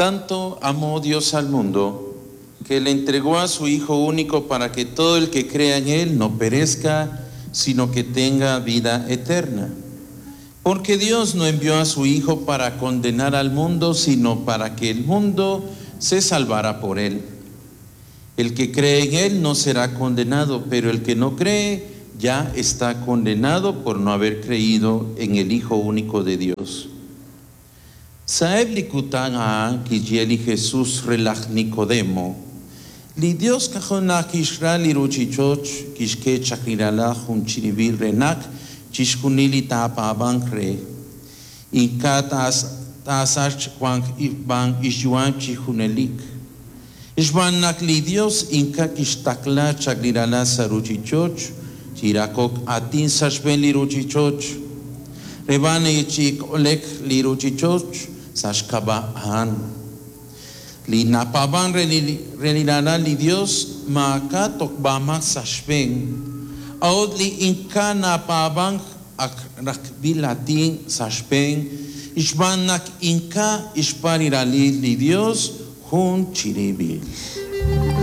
Tanto amó Dios al mundo que le entregó a su Hijo único para que todo el que crea en Él no perezca, sino que tenga vida eterna. Porque Dios no envió a su Hijo para condenar al mundo, sino para que el mundo se salvara por él. El que cree en Él no será condenado, pero el que no cree ya está condenado por no haber creído en el Hijo único de Dios. Sa'eb li kutan a'an kixye li Jesus re laj Nicodemo, Li Dios k'ajo' naq kixra li ruuchich'och' kixk'e chaq li Ralal jun chirib'il re naq chixjunil li taapaab'anq re, ink'a' taasachq wanq b'an xyu'am chi junelik. Xb'aan naq li Dios ink'a' kixtaqla chaq li Ralal sa' ruuchich'och' chi raqok aatin sa' xb'een li ruuchich'och', re b'an chi kole'k li ruuchich'och' sa' xk'ab'a' a'an. Li napaab'ank re li Ralal li Dios maak'a' tojb'amaak sa' xb'een, a'ut li ink'a' napaab'ank ak raqb'il aatin sa' xb'een xb'aan naq ink'a' xpaab' li Ralal li Dios jun chirib'il.